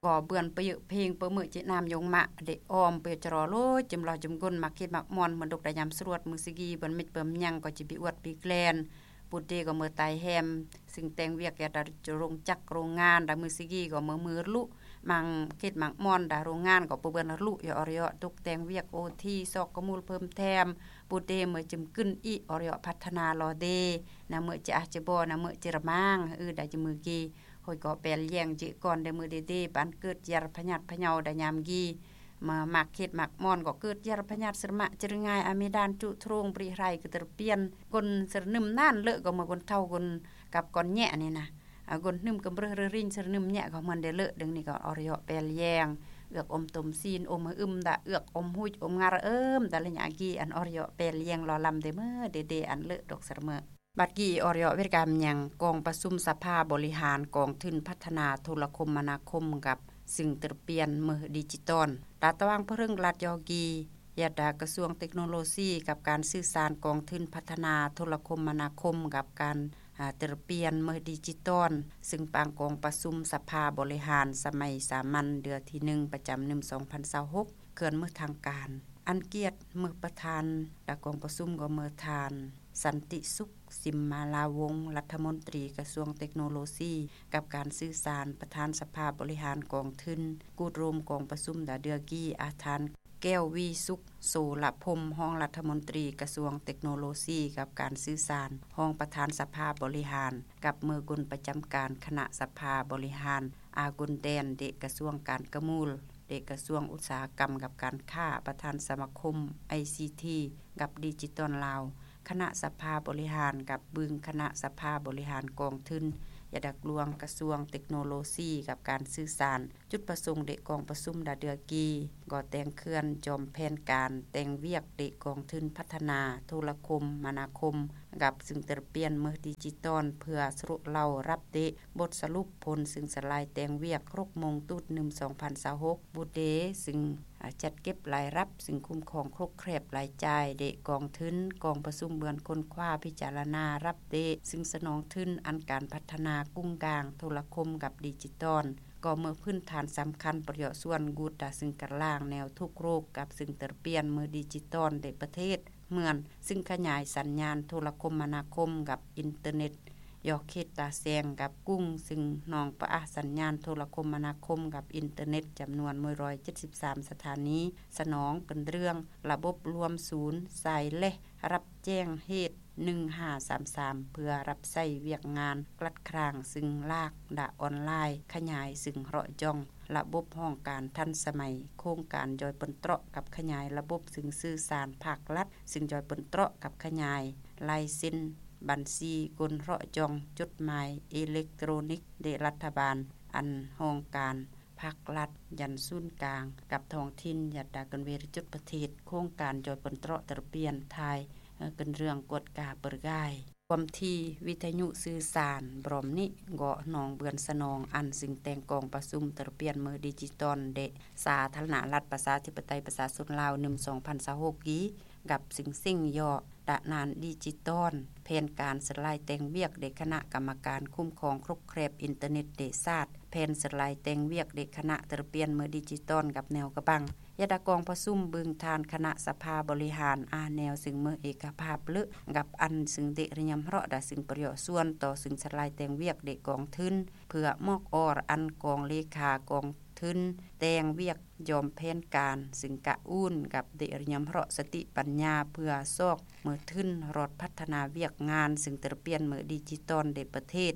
ກໍເບື່ອນປະເຍີະເພງ ປະເມີະຈິນາມຍົງມະ ເດອອມປະເຢາະຈະລໍໂລຍ ຈຳລອດຈຳກົນ ມັກຄິດມັກມ່ອນ ເໝືອນດົກໄດຍາມສະຫຼວດ ມື້ສະກີເບື່ອນມິດເບື່ອນຍັງ ກໍຈະບິອວດປີແກລນ ປູເຕກໍເມີຕາຍແຮມ ຊຶ່ງແຕ່ງວຽກແກ່ດາໂຮງຈັກໂຮງງານ ດາມືສະກີກໍເມີມືລຸ ມັງເຂດມັງມ່ອນ ດາໂຮງງານກໍປະເບືອນລຸ ຢໍອອຣະຢໍຕົກແຕ່ງວຽກໂອທີ ຊອກກະມູນເພີ່ມແຖມ ປູເຕເມີຈຶ່ມກຶນອີອອຣະຢໍພັດທະນາລໍເດ ນາເມີຈະອາຈະບໍ ນາເມີຈະລະມາງ ອືດາຈະມືກີ ໂຮຍກໍແປລແຍງຈິກ່ອນ ແດມືເດເດ ບານເກີດຢາລະພະຍາດພະເຍົາ ດາຍາມກີ ມາມັກເຂດມັກມ່ອນກໍເກີດຢາລະພະຍາດ ສະມະຈະລະງາຍ ອາເມດານ ຈຸໂທງ ບຣິໄຮ ກະເຕີປຽນ ກົນສະໜຶມນານເລີກກໍເມີກົນເທົ້າ ກົນກັບກ່ອນແຍະນີ້ນະ ອາ ກົນໜຶມກຳເຣີເຣຣິງ ສະໜຶມແຍະກໍເມີນເດເລີກ ເດີງນີ້ກໍອອຣະຢໍແປລແຍງ ເອືອກອົມຕົມຊີນ ອົມຫຶອຶມດາ ເອືອກອົມຫຸຍອົມງາຣະເອີມ ດາລະຍາກີ ອັນອອຣະຢໍແປລແຍງລໍລຳ ເດເມີເດເດ ອັນເລີກດອກສະເມີ ບັດກີອອຣະເວກາມຍັງ ກອງປະຊຸມສະພາບໍລິຫານກອງທຶນພັດທະນາໂທລະຄົມມະນາຄົມກັບ ຊຶ່ງເຕີປຽນເມີດິຈິຕອນ ຕາຕະຫວ່າງພະເຮິງລັດຢໍກີ ຍາດາກະຊວງເຕັກໂນໂລຊີ ກັບການສື່ສານ ກອງທຶນພັດທະນາໂທລະຄົມມະນາຄົມ ກັບການ ອາ ເຕີປຽນເມີດິຈິຕອນ ຊຶ່ງປາງກອງປະຊຸມສະພາບໍລິຫານສະໄໝສາມັນເດືອທີໜຶ່ງ ປະຈຳໜຶ່ງ ສອງພັນຊາວຫົກ ເຄື່ອນເມີທາງການ ອັນກຽດເມີປະທານ ແລະ ກອງປະຊຸມກໍເມີທ່ານ ສັນຕິສຸກ ສິມມາລາວົງ ລັດຖະມົນຕີກະຊວງເຕັກໂນໂລຊີ ກັບການສື່ສານ ປະທານສະພາບໍລິຫານກອງທຶນ ກູດໂຣມກອງປະຊຸມດາເດືອກີ ອາທ່ານ ແກ້ວວີສຸກ ໂສລະພົມ ຮອງລັດຖະມົນຕີກະຊວງເຕັກໂນໂລຊີ ກັບການສື່ສານ ຮອງປະທານສະພາບໍລິຫານ ກັບເມີກຸນປະຈຳການຄະນະສະພາບໍລິຫານ ອາກຸນແດນ ເດກະຊວງການກະມູນ ເດກະຊວງອຸດສາຫະກຳກັບການຄ້າ ປະທານສະມາຄົມໄອຊີທີ ກັບດິຈິຕອນລາວ ຄະນະສະພາບໍລິຫານ ກັບບຶງຄະນະສະພາບໍລິຫານກອງທຶນ ຍາດາກລວງກະຊວງເຕັກໂນໂລຊີ ກັບການສື່ສານ ຈຸດປະສົງເດກອງປະຊຸມດາເດືອກີ ກໍແຕ່ງເຄື່ອນຈອມແຜນການແຕ່ງວຽກເດກອງທຶນພັດທະນາໂທລະຄົມມະນາຄົມ ກັບຊຶ່ງເຕີປຽນເມີດິຈິຕອນ ເພື່ອສະຫຼຸບເລົ່າຮັບເດ ບົດສະຫຼຸບຜົນ ຊຶ່ງສະລາຍແຕ່ງວຽກ ຫົກໂມງຕູດໜຶ່ງ ສອງພັນຊາວຫົກ ບຸດເດ ຊຶ່ງ ອາ ຈັດເກັບລາຍຮັບ ຊຶ່ງຄຸ້ມຄອງຄົກແຄບລາຍຈ່າຍເດກອງທຶນ ກອງປະຊຸມເບືອນຄົ້ນຄວ້າພິຈາລະນາຮັບເດ ຊຶ່ງສະໜອງທຶນອັນການພັດທະນາກຸ້ງກາງໂທລະຄົມກັບດິຈິຕອນ ກໍເມີພື້ນຖານສຳຄັນປະໂຫຍດສ່ວນກຸດດາ ຊຶ່ງກະລາງແນວທຸກໂລກ ກັບຊຶ່ງເຕີປຽນເມີດິຈິຕອນເດປະເທດ ເໝືອນ ຊຶ່ງຂະຫຍາຍສັນຍານໂທລະຄົມມະນາຄົມກັບອິນເຕີເນັດ ຢໍເຂດຕາແຊງກັບກຸ້ງ ຊຶ່ງໜອງປະອາສັນຍານໂທລະຄົມມະນາຄົມກັບອິນເຕີເນັດ ຈຳນວນໜຶ່ງຮ້ອຍເຈັດສິບສາມສະຖານີ ສະໜອງເປັນເລື່ອງລະບົບລວມສູນສາຍແລະ ຮັບແຈ້ງເຫດ ໜຶ່ງຫ້າສາມສາມ ເພື່ອຮັບໃຊ້ວຽກງານກວດກາ ຊຶ່ງລາກດາອອນລາຍ ຂະຫຍາຍ ຊຶ່ງເລາະຈ່ອງ ລະບົບຫ້ອງການທັນສະໄໝ ໂຄງການຍ່ອຍປົນເຕາະກັບຂະຫຍາຍລະບົບ ຊຶ່ງສື່ສານພາກລັດ ຊຶ່ງຍ່ອຍປົນເຕາະກັບຂະຫຍາຍລາຍເຊັນບັນຊີ ກົນເລາະຈ່ອງຈົດໝາຍເອເລັກໂຕຣນິກ ເດລັດຖະບານ ອັນຫ້ອງການພາກລັດ ຢັນສູນກາງ ກັບທ້ອງຖິ່ນ ຍັດຕາກັນເວຣະຈຸດປະເທດ ໂຄງການຍ່ອຍປົນເຕາະເຕີປຽນ ຖ່າຍເກີນເລື່ອງກວດກາເປີກາຍ ຄວາມຖີ່ວິທະຍຸສື່ສານ ບຣອມນິ ເກາະໜອງເບືອນສະໜອງ ອັນຊຶ່ງແຕ່ງກອງປະຊຸມເຕີປຽນເມີດິຈິຕອນເດ ສາທາລະນະລັດ ປະຊາທິປະໄຕ ປະຊາຊົນລາວ ໜຶ່ງ ສອງພັນຊາວຫົກ ກີ ກັບສິ່ງເສັງຍໍ້ ຕະນານດິຈິຕອນ ແຜນການສະລາຍແຕ່ງວຽກເດຄະນະກຳມະການຄຸ້ມຄອງຄົກແຄບອິນເຕີເນັດເດຊາດ ແຜນສະລາຍແຕ່ງວຽກເດຄະນະເຕີປຽນເມີດິຈິຕອນກັບແນວກະບັງ ຍາດາກອງປະຊຸມບຶງຖານຄະນະສະພາບໍລິຫານ ອາແນວຊຶ່ງເມີເອກະພາບເລີກກັບອັນຊຶ່ງເດຣະຍຳເຮາະດາ ຊຶ່ງປະໂຫຍດສ່ວນຕໍ່ຊຶ່ງສະລາຍແຕ່ງວຽກເດກອງທຶນ ເພື່ອມອກອອກອັນກອງເລຂາກອງທຶນ ແຕ່ງວຽກ ຍອມແຜນການ ຊຶ່ງກະອູນກັບເດຣະຍຳເຮາະສະຕິປັນຍາ ເພື່ອຊອກເມີທຶນຮອດພັດທະນາວຽກງານ ຊຶ່ງເຕີປຽນເມີດິຈິຕອນເດປະເທດ